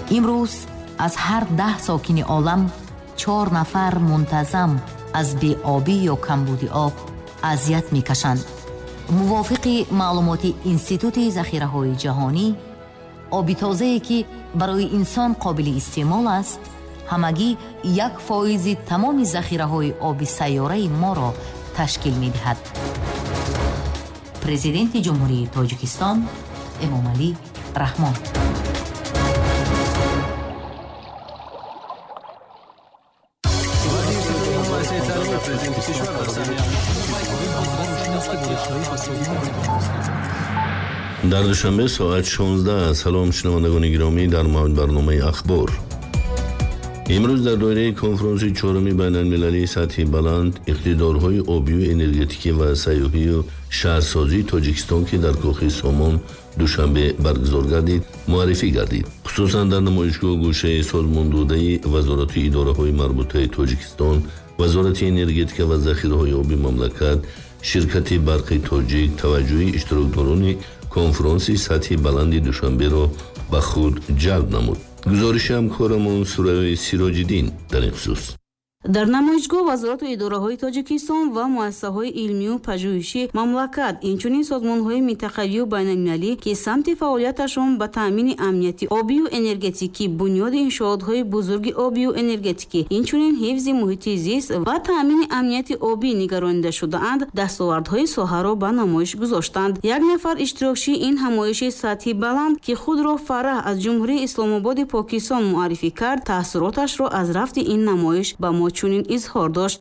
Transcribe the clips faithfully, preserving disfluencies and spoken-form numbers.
Имрӯз аз ҳар даҳ сокини олам чор нафар мунтазам аз беобӣ ё камбуди об азият мекашанд. Мувофиқи маълумоти Институти захираҳои ҷаҳонӣ, оби тозае ки барои инсон қобили истеъмол аст, ҳамагӣ як фоизи тамоми захираҳои оби сайёраи моро ташкил медиҳад. Президенти Ҷумҳурии Тоҷикистон Эмомалӣ Раҳмон. Дар Душанбе соат шонздаҳ. Салом шунавандагони гиромӣ, дар мавҷ барномаи ахбор. Имрӯз дар доираи конфронси чоруми байналмилалии сатҳи баланд иқтидорҳои обию энергетикӣ ва сайёҳию шаҳрсозии Тоҷикистон, ки дар кохи Сомон Душанбе баргузор гардид, муаррифӣ гардид. Хусусан дар намоишгоҳ гӯшаи созмондодаи вазорату идораҳои марбутаи Тоҷикистон, Вазорати энергетика ва захираҳои оби мамлакат, ширкати барқи тоҷик таваҷҷӯҳи иштирокдорони конфронси сатҳи баланди Душанберо ба худ ҷалб намуд. Гузориши ҳамкорамон Сурайёи Сироҷиддин дар ин хусус. Дар намоишгоҳ вазорату идораҳои Тоҷикистон ва муассисаҳои илмию пажӯҳиши мамлакат, инчунин созмонҳои минтақавию байналмилалӣ, ки самти фаъолияташон ба таъмини амнияти обию энергетикӣ, бунёди иншоотҳои бузурги обию энергетикӣ, инчунин ҳифзи муҳити зист ва таъмини амнияти обӣ нигаронида шудаанд, дастовардҳои соҳаро ба намоиш гузоштанд. Як нафар иштирокчии ин ҳамоиши сатҳи баланд, ки худро Фараҳ аз Ҷумҳурии Исломободи Покистон муаррифӣ кард, таассуроташро аз рафти ин намоиш ба мо чунин изҳор дошт.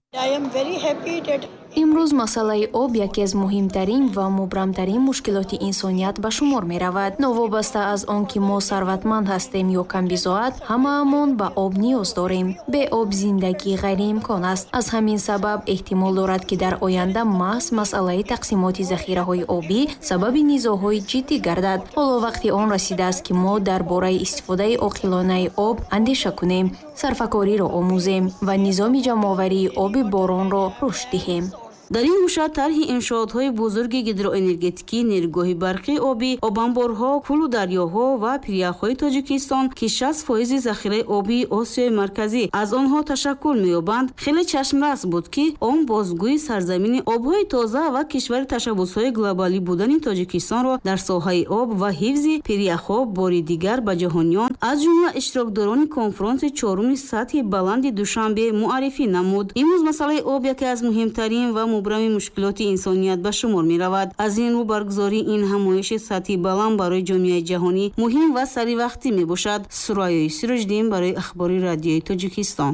Имрӯз масъалаи об яке аз муҳимтарин ва мубрамтарин мушкилоти инсоният ба шумор меравад. Новобаста аз он ки мо сарватманд ҳастем ё камбизоат, ҳамаамон ба об ниёз дорем. Бе об зиндагӣ ғайриимкон аст. Аз ҳамин сабаб эҳтимол дорад, ки дар оянда маҳз масъалаи тақсимоти захираҳои обӣ сабаби низоъҳои ҷиддӣ гардад. Ҳоло вақти он расидааст, ки мо дар бораи истифодаи оқилонаи об андеша кунем, сарфакориро омӯзем ва низоми ҷамъоварии оби боронро рушд диҳем. Дар ин гӯша тарҳи иншоотҳои бузурги гидроэнергетикӣ, нерӯгоҳи барқи обӣ, обанборҳо, кӯлу дарёҳо ва пиряхҳои Тоҷикистон, ки шаст фоизи захираи обии Осиёи Марказӣ аз онҳо ташаккул меёбанд, хеле чашмрас буд, ки он бозгӯи сарзамини обҳои тоза ва кишвари ташаббусҳои глобалӣ будани Тоҷикистонро дар соҳаи об ва ҳифзи пиряхҳо бори дигар ба ҷаҳониён, аз ҷумла иштирокдорони конфронси чоруми сатҳи баланди Душанбе муаррифӣ намуд. Имрӯз масъалаи об яке аз муҳимтарин ва мубрами мушкилоти инсоният ба шумор меравад. Аз ин рӯ баргузории ин ҳамоиши сатҳи баланд барои ҷомеаи ҷаҳонӣ муҳим ва саривақтӣ мебошад. Сурайёи Сироҷиддин барои ахбори радиои Тоҷикистон.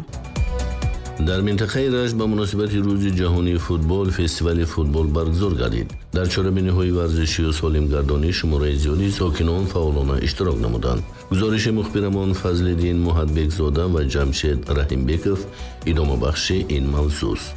Дар минтақаи Рашт ба муносибати рӯзи ҷаҳонии футбол фестивали футбол баргузор гардид. Дар чорабиниҳои варзишию солимгардонӣ шумораи зиёди сокинон фаъолона иштирок намуданд. Гузориши мухбирамон Фазлиддин Муҳатбекзода ва Ҷамшед Раҳимбеков идомабахши ин мавзӯст.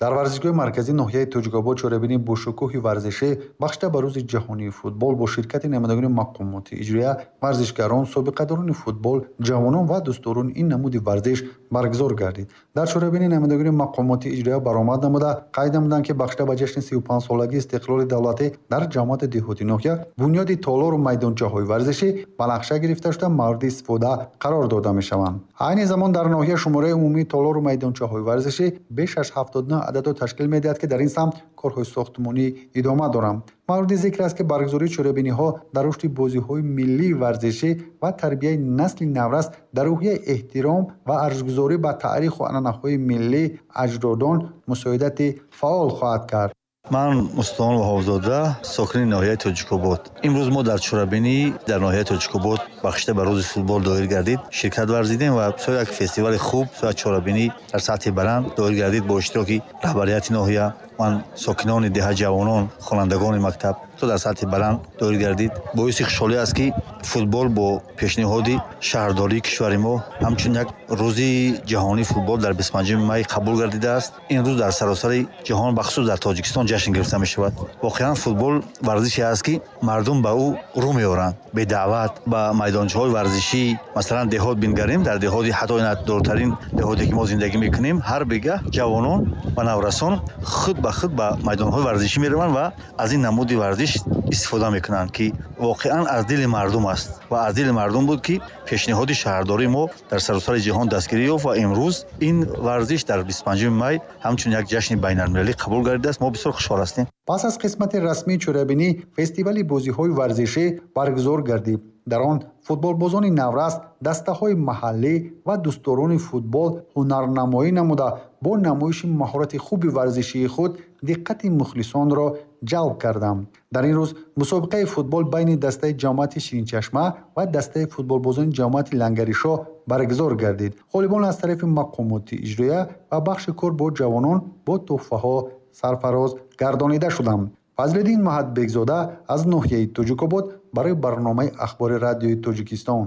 Дар варзишгоҳи марказии ноҳияи Тоҷикобод чорабинии бошукӯҳи варзишӣ бахшида ба рӯзи ҷаҳонии футбол бо ширкати намояндагони мақомоти иҷроия, варзишгарон, собиқадорони футбол, ҷавонон ва дӯстдорони ин намуди варзиш баргузор гардид. Дар чорабинии намояндагони мақомоти иҷроия баромад намуда қайд намуданд, ки бахшида ба ҷашни сию панҷсолагии истиқлоли давлатӣ дар ҷамоати деҳоти ноҳия бунёди толору майдончаҳои варзишӣ ба нақша гирифта шуда мавриди истифода қарор дода мешаванд. Айни замон дар ноҳия шумораи умумии толору майдончаҳои варзишӣ беш аз ҳафтоду нӯҳ ададро ташкил медиҳад, ки дар ин самт корҳои сохтмонӣ идома доранд. Мавриди зикр аст, ки баргузории чорабиниҳо дар рушди бозиҳои миллии варзишӣ ва тарбияи насли наврас дар рӯҳияи эҳтиром ва арҷгузорӣ ба таъриху анъанаҳои миллии аҷдодон мусоидати фаъол хоҳад кард. Ман Мустафо Ваҳобзода, сокини ноҳияи Тоҷикобод. Имрӯз мо дар чорабинӣ дар ноҳияи Тоҷикобод бахшида ба рӯзи футбол доир гардид, ширкат варзидем ва бисёр як фестивали хуб, бисёр чорабинӣ дар сатҳи баланд доир гардид бо иштироки раҳбарияти ноҳия, ман сокинони деҳа, ҷавонон, хонандагони мактаб то дар сатҳи баланд доир гардид. Боиси хушҳолӣ аст, ки футбол бо пешниҳоди шаҳрдории кишвари мо ҳамчун як рӯзи ҷаҳонии футбол дар бисту панҷуми май қабул гардидааст. Ин рӯз дар саросари ҷаҳон, бахусус дар Тоҷикистон ҷашн гирифта мешавад. Воқеан футбол варзише аст, ки мардум ба ӯ рӯ меоранд бедаъват ба майдончаҳои варзишӣ. Масалан, деҳот бингарем, дар деҳоти ҳатто дуртарин деҳоте ки мо зиндагӣ мекунем, ҳар бегаҳ ҷавонон ва наврасон худ худ ба худ ба майдонҳои варзишӣ мераванд ва аз ин намуди варзиш истифода мекунанд, ки воқеан аз дили мардум аст ва аз дили мардум буд, ки пешниҳоди шаҳрдории мо дар саросари ҷаҳон дастгирӣ ёфт ва имрӯз ин варзиш дар бисту панҷуми май ҳамчун як ҷашни байналмилалӣ қабул гардидааст. Мо бисёр хушҳол ҳастем. Пас аз қисмати расмии чорабинӣ фестивали бозиҳои варзишӣ баргузор гардид. Дар он футболбозони наврас, дастаҳои маҳаллӣ ва дӯстдорони футбол ҳунарнамоӣ намуда бо намоиши маҳорати хуби варзишии худ диққати мухлисонро ҷалб карданд. Дар ин рӯз мусобиқаи футбол байни дастаи ҷамоати Ширинчашма ва дастаи футболбозони ҷамоати Лангаришоҳ баргузор гардид. Ғолибон аз тарафи мақомоти иҷроия ва бахши кор бо ҷавонон бо тӯҳфаҳо сарфароз гардонида шуданд. Фазлиддин Маҳатбекзода аз ноҳияи Тоҷикобод барои барномаи Ахбори радиои Тоҷикистон.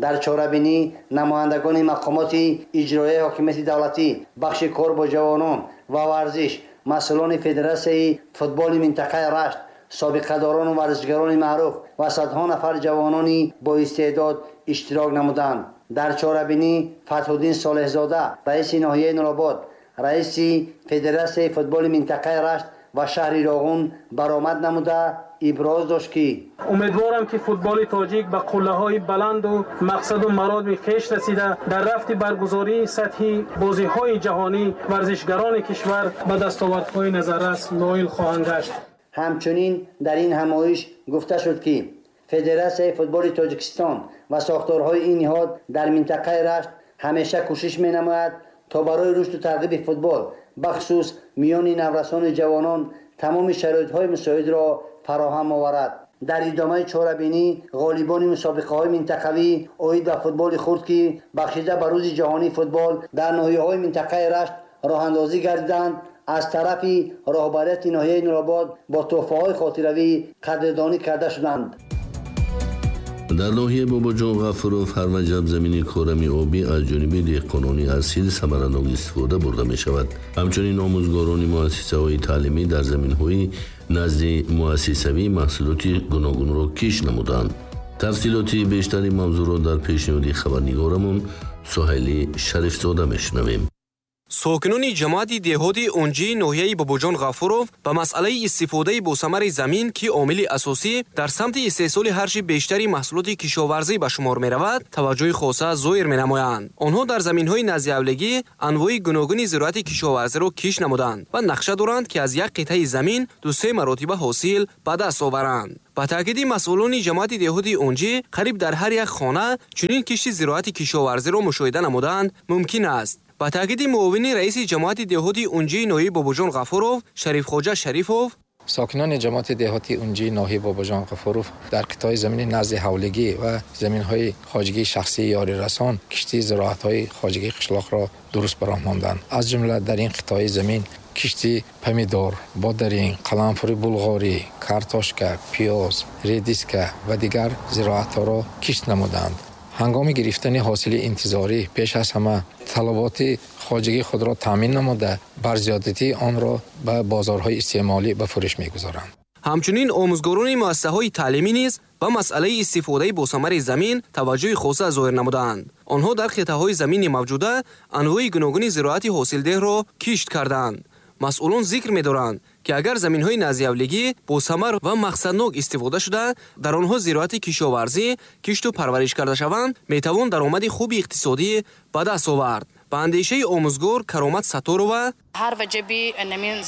Дар чорабинӣ намояндагони мақомоти иҷроияи ҳокимияти давлатӣ, бахши кор бо ҷавонон ва варзиш, масъулони федератсияи футболи минтақаи Рашт, собиқадорону варзишгарони маъруф ва садҳо нафар ҷавонони боистеъдод иштирок намуданд. Дар чорабинӣ Фатҳуддин Солеҳзода, раиси ноҳияи Нуробод, раиси федератсияи футболи минтақаи Рашт ва шаҳри Роғун баромад намуда иброз дошт, ки умедворам, ки футболи тоҷик ба қуллаҳои баланду мақсаду мароми хеш расида, дар рафти баргузории сатҳи бозиҳои ҷаҳонӣ варзишгарони кишвар ба дастовардҳои назаррас ноил хоҳанд гашт. Ҳамчунин дар ин ҳамоиш гуфта шуд, ки федератсияи футболи Тоҷикистон ва сохторҳои ин ниҳод дар минтақаи Рашт ҳамеша кӯшиш менамояд, то барои рушду тарғиби футбол бахусус миёни наврасону ҷавонон тамоми шароитҳои мусоидро фароҳам оварад. Дар идомаи чорабинӣ ғолибони мусобиқаҳои минтақавӣ оид ба футболи хурд, ки бахшида ба рӯзи ҷаҳонии футбол дар ноҳияҳои минтақаи Рашт роҳандозӣ гардиданд, аз тарафи роҳбарияти ноҳияи Нуробод бо тӯҳфаҳои хотиравӣ қадрдонӣ карда шуданд. Дар ноҳияи Бобоҷон Ғафуров ҳар ваҷаб замини корами обӣ аз ҷониби деҳқонони асил самаранок истифода бурда мешавад. Ҳамчунин омӯзгорони муассисаҳои таълимӣ дар заминҳои назди муассисавӣ маҳсулоти гуногунро киш намуданд. Тафсилоти бештари мавзӯъро дар пешниҳоди хабарнигорамон Суҳайли Шарифзода мешунавем. Сокинони ҷамоати деҳоти Унҷии ноҳияи Бобоҷон Ғафуров ба масъалаи истифодаи босамари замин, ки омили асосӣ дар самти истеҳсоли ҳарчи бештари маҳсулоти кишоварзӣ ба шумор меравад, таваҷҷӯҳи хоса зоҳир менамоянд. Онҳо дар заминҳои наздиҳавлигӣ анвои гуногуни зироати кишоварзиро киш намуданд ва нақша доранд, ки аз як қитъаи замин ду-се маротиба ҳосил ба даст оваранд. Ба таъкиди масъулони ҷамоати деҳоти Унҷӣ, қариб дар ҳар як хона чунин кишти зироати кишоварзиро мушоҳида намуданд мумкин аст. Ба таъкиди муовини раиси ҷамоати деҳоти Унҷии ноҳияи Бобоҷон Ғафуров Шарифхоҷа Шарифов, сокинони ҷамоати деҳоти Унҷии ноҳияи Бобоҷон Ғафуров дар қитъаи замини назди ҳавлигӣ ва заминҳои хоҷагии шахсии ёрирасон кишти зироатҳои хоҷагии қишлоқро дуруст ба роҳ монданд. Аз ҷумла дар ин қитъаи замин кишти помидор, бодаринг, қаламфури булғорӣ, картошка, пиёз, редиска ва дигар зироатҳоро кишт намуданд. Ҳангоми гирифтани ҳосили интизорӣ пеш аз ҳама талаботи хоҷагии худро таъмин намуда, бар зиёдатии онро ба бозорҳои истеъмолӣ ба фурӯш мегузоранд. Ҳамчунин омӯзгорони муассисаҳои таълимӣ низ ба масъалаи истифодаи босамари замин таваҷҷӯҳи хоса зоҳир намуданд. Онҳо дар қитъаҳои замини мавҷуда анвои гуногуни зироати ҳосилдеҳро кишт карданд. Масъулон зикр медоранд, ки агар заминҳои наздиҳавлигӣ босамар ва мақсаднок истифода шуда, дар онҳо зироати кишоварзӣ кишту парвариш карда шаванд, метавон даромади хуби иқтисодӣ ба даст овард. Ба андешаи омӯзгор Каромат Сатторова, ҳар ваҷаби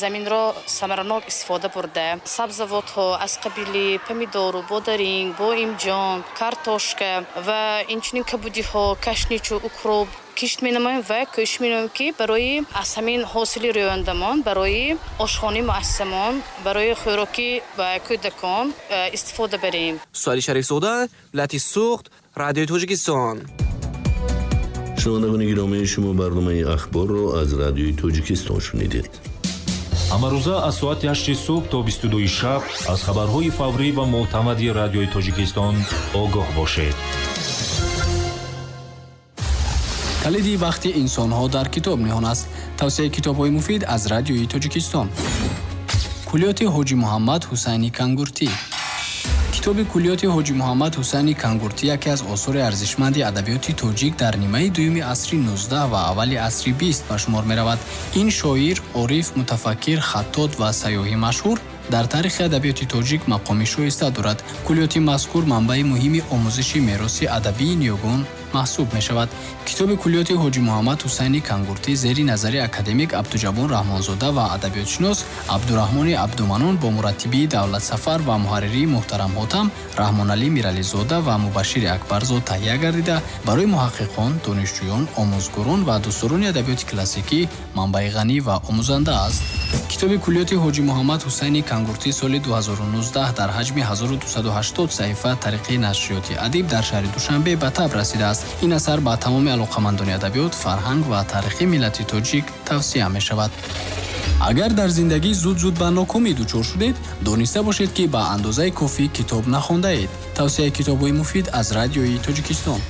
заминро самаранок истифода бурда, сабзавотҳо аз қабили помидору, бодаринг, боимҷон, картошка ва инчунин кабудиҳо, кашничу, укроп кишт менамоем ва кӯшиш менамоем, ки барои аз ҳамин ҳосили рӯёндамон, барои ошхонаи муассисамон, барои хӯроки ба кӯдакон истифода барем. Суҳайли Шарифзода, вилояти Суғд, Радиои Тоҷикистон. Шунавандагони гиромӣ, шумо барномаи Ахборро аз Радиои Тоҷикистон шунидед. Ҳамарӯза аз соати ҳашти субҳ то бисту дуи шаб аз хабарҳои фаврӣ ва мӯътамади Радиои Тоҷикистон огоҳ бошед. Калиди бахти инсонҳо дар китоб ниҳон аст. Тавсияи китобҳои муфид аз Радиои Тоҷикистон. Куллиёти Ҳоҷи Муҳаммад Ҳусайни Кангуртӣ. Китоби куллиёти Ҳоҷи Муҳаммад Ҳусайни Кангуртӣ яке аз осори арзишманди адабиёти тоҷик дар нимаи дуюми асри нуздаҳ ва аввали асри бист ба шумор меравад. Ин шоир, ориф, мутафаккир, хаттот ва сайёҳи машҳур дар таърихи адабиёти тоҷик мақоми шоиста дорад. Куллиёти мазкур манбаи муҳими омӯзиши мероси адабии ниёгон маҳсуб мешавад. Китоби куллиёти Ҳоҷи Муҳаммад Ҳусайни Кангуртӣ зери назари академик Абдуҷаббор Раҳмонзода ва адабиётшинос Абдураҳмони Абдуманон бо мураттибии Давлатсафар ва муҳарририи муҳтарам Ҳотам Раҳмоналӣ Мирализода ва Мубашшири Акбарзод таҳия гардида, барои муҳаққиқон, донишҷӯён, омӯзгорон ва дӯстдорони адабиёти классикӣ манбаи ғанӣ ва омӯзанда аст. Китоби куллиёти Ҳоҷи Муҳаммад Ҳусайни Кангуртӣ соли ду ҳазору нуздаҳ дар ҳаҷми ҳазору дусаду ҳаштод саҳифа тариқи нашриёти Адиб дар шаҳри Душанбе ба таб расидааст. Ин асар ба тамоми алоқамандони адабиёт, фарҳанг ва таърихи миллати тоҷик тавсия мешавад. Агар дар зиндагӣ зуд-зуд ба нокомӣ дучор шудед, дониста бошед, ки ба андозаи кофӣ китоб нахондаед. Тавсияи китобҳои муфид аз Радиои Тоҷикистон.